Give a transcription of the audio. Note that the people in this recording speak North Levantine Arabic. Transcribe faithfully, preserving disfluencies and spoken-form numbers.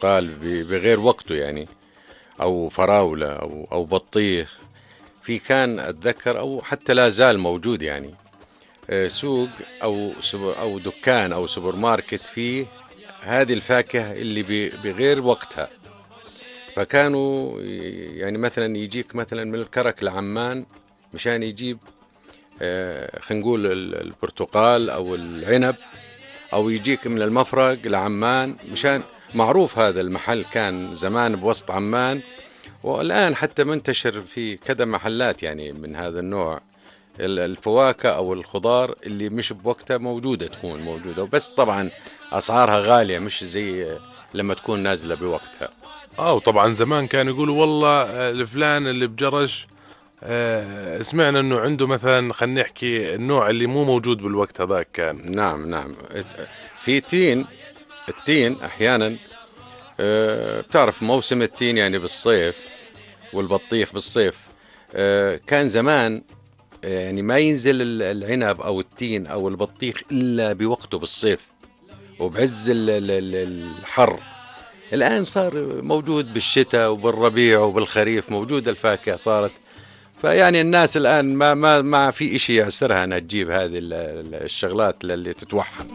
برتقال ب- بغير وقته يعني، أو فراولة أو أو بطيخ. في كان أتذكر أو حتى لا زال موجود يعني آه، سوق أو سوب- أو دكان أو سوبر ماركت فيه هذه الفاكهة اللي ب- بغير وقتها. فكانوا ي- يعني مثلا يجيك مثلا من الكرك لعمان مشان يجيب آه، خلينا نقول ال- البرتقال أو العنب، أو يجيك من المفرق لعمان مشان معروف هذا المحل كان زمان بوسط عمان، والآن حتى منتشر في كذا محلات يعني من هذا النوع. ال- الفواكه أو الخضار اللي مش بوقتها موجودة تكون موجودة، وبس طبعا أسعارها غالية مش زي لما تكون نازلة بوقتها. اه وطبعا زمان كانوا يقولوا والله آه، الفلان اللي بجرش آه، سمعنا انه عنده مثلا، خلينا نحكي النوع اللي مو موجود بالوقت هذاك كان. نعم نعم. ات- في تين، التين أحيانا آه، بتعرف موسم التين يعني بالصيف، والبطيخ بالصيف. آه، كان زمان آه، يعني ما ينزل ال- العنب أو التين أو البطيخ إلا بوقته بالصيف وبعز ال- ال- ال- الحر. الآن صار موجود بالشتاء وبالربيع وبالخريف، موجود الفاكهة صارت. فيعني الناس الآن ما ما ما في إشي يعسرها أنها تجيب هذه ال- ال- الشغلات اللي تتوحم.